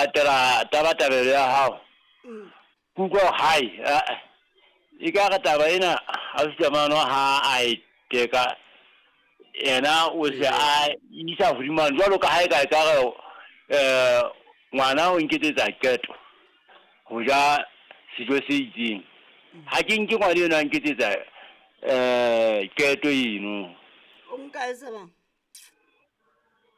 Latela tabatabelo ya hao. Ke utlwa hore hai, ah-eh, ekare taba ena ausi Tamano ha a e teka, yena o se a isa hodimo jwalo ka ha eka ekare ngwana o nketsetsa qeto ho ja sejo se itseng. Ha ke nke ngwana eno a nketsetsa qeto eno. O nka e sa bang?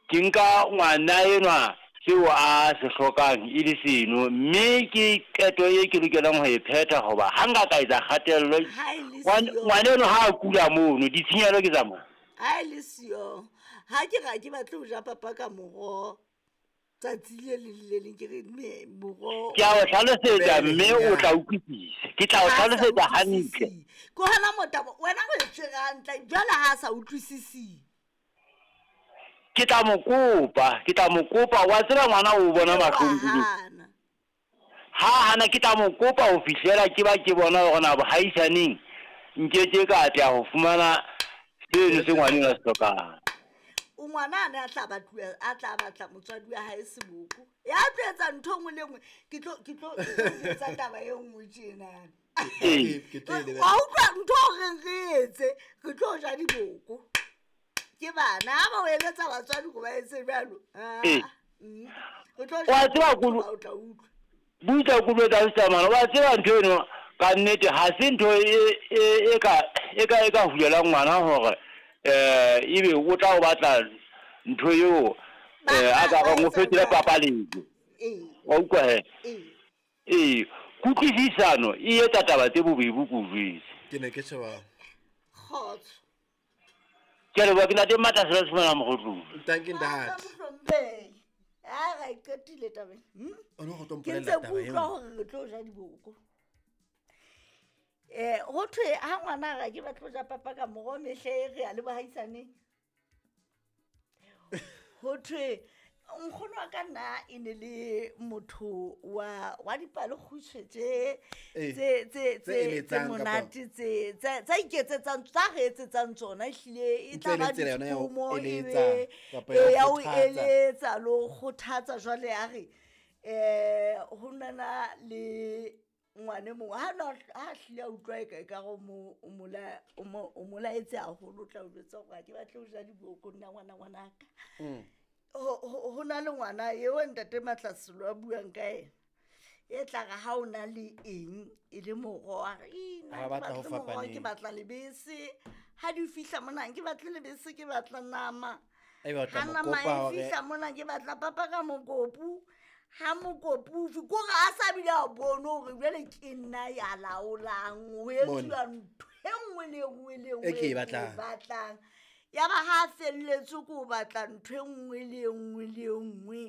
Ke nka ngwana enwa seo a se hlokang e le seno, mme ke qeto e ke lokelang ho e phetha hoba ha nka ka etsa kgatello, Ha e le siyo. ngwana eno ha a kula mono, ditshenyehelo ke tsa mang? Ha e le siyo. Ha ke re ha ke batle ho ja papa ka moroho tsatsi le leng le leng, ke re mme moroho Ke a o hlalosetsa Bele, mme o ya. tla utlwisisa. Ke tla o Ha a sa hlalosetsa hantle. utlwisisi. Ke hona motabo, wena o e tshwere hantle, jwale ha a sa utlwisisi. Ke tla mo kopa, ke tla mo kopa, wa tseba ngwana o bona mahlong kudu. Hana. Ha hana ke tla mo kopa ho fihlela ke ba ke bona hore na bohaisaneng nkeke ka atleha ho fumana seno se ngwaneng a se hlokang. O ngwana a ne a tla batluwa, a tla batla motswadi wa hae seboko. Ya tlo etsa ntho e nngwe le e nngwe. Ke tlo, ke tlo, ke tlo etsa taba e nngwe tjena. Ee. Ke tlo e lebella. Wa utlwa ntho o reng re etse, re tlo ja diboko. Ke bana, ha ba o eletsa batswadi hore ba etse jwalo. Ah, Ee. Re tlo ja Wa tseba diboko, kolo- ba o tla utlwa. Buitla kulo tsa Samana, wa tseba ntho eno ka nnete ha se ntho e, e, e ka, e ka, e ka hulelang ngwana hore, ebe o tla o batla ntho eo, Ba a ka ba reng o etsa fetole jwang? papaletso. Ee. Wa utlwa he? Ee. Ee, kutlwisisano e etsa taba tse bobebe ko jwetse. Ke ne ke sheba. Kgotso. Ke a leboha, ke ntate Matla Sela Sefumana Mokgotlong. Thank you, ntate. Mohlomphehi. Ha ra e qetile taba ena. O no go tlo Ke mpolella ntse ke taba eo. utlwa hore re tlo ja diboko. Ho thwe ha ngwana a re ke batlo ja papa ka moroho mehle e re ya le bohaisaneng. Ho thwe nkgono wa ka nna e ne le motho wa dipalekgutshwe tse, Ee. tse, tse, Tse tse, tse eletsang kapa- monate, tse, tse, tsa iketsetsang, tsa re etsetsang tsona, ehlile e Ntse tla e le ba tsela yona ya ho ditshomo, e eletsa be, kapa ya ho ee, ya ho kgothatsa. eletsa le ho kgothatsa. Jwale a re, ho nana le ngwane mongwe, ha na, ha hlile a utlwa e ka, e ka re o mo, o mo la-, o mo, o mo laetse haholo, o tla o jwetsa hore ha ke batle ho ja diboko nna ngwana, ngwanaka. Ho na le ngwana eo ntate Matlaselo a buang ka ena. E tla re ha o na le eng e le moroho, a re, Ih, nna Ha ke batla ho batle moroho, fapaneng. ke batla lebese. Ha di fihla mona, ke batle lebese, ke batla nama. Ebe o tla Ha mo nama kopa e hore fihla mona, ke batla papa ka mokopu. Ha mokopu o fi-, ke hore a sa bile a bone hore jwale ke nna ya laolang, ho Mona. etsuwa ntho e nngwe le e nngwe le e nngwe E ke e e ke e batlang. batlang. Ya ba ha a felletswe ke ho batla ntho e nngwe le e nngwe le e nngwe,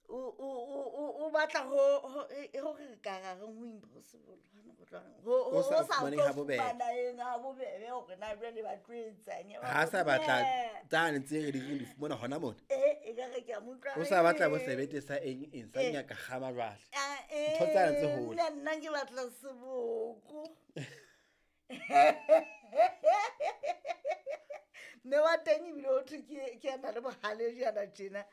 o batla ho, ho, e, e, hore re ka ra reng ho impossible, hona ho tla reng? Ho, ho, Ho sa ho sa fumaneng tlo ha bobebe. fumana eng ha bobebe hore na jwale ba tlo etsang, ya ba Ha sa batla Eh. tsane tse re di reng di fumana hona mona. Eh, e ka re ke a mo utlwa O sa batla bo re- sebete sa eng eng, sa Eh. nyaka kgama jwale. Ah, Ntho tsane tse eh, hole. nna, nna ke batla seboko. Mme wa teng ebile ho thwe ke a na le bohale jana tjena.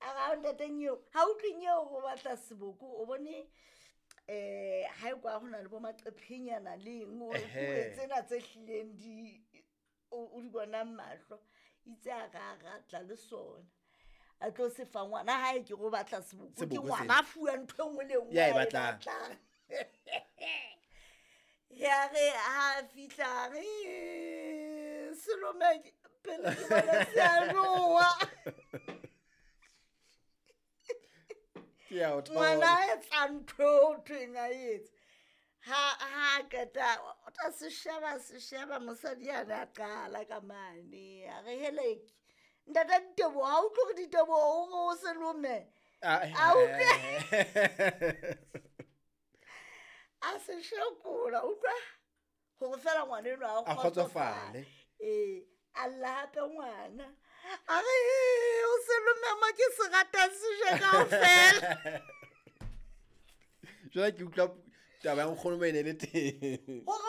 A re, ha ntate Nyeo, ha utlwe Nyeo o batla seboko, o bone, ha e kwa ho na le bo maqephenyana le eng, o re Ehe. puo tsena tse hlileng di, o di bonang mahlo. Itse a re a ratla le sona. A tlo se fa ngwana hae ke re o batla seboko, ke Seboko ngwana sena. a fuwa ntho e nngwe le e nngwe Ya e a e batlang. batlang. Ya re ha fihla re, Selome, pele ke bona se a jowa. Ke ya o thola. Ngwana a etsa ntho eo ho thweng a etse. Ha, ha qeta, o tla se sheba, se sheba, mosadi yane a qala ka mane. A re, heleke, ntate Diteboho, ha utlwe hore Diteboho o re o Selome? Ah, A utlwe. eh. A se shekola, utlwa hore feela ngwana enwa a A kgotsofale. kgotsofale. Ee, a lla hape ngwana. A re, o Selome mo ke se ratang se je kaofela. Jwale ke utlwa taba ya nkgono mo e ne le teng. Hore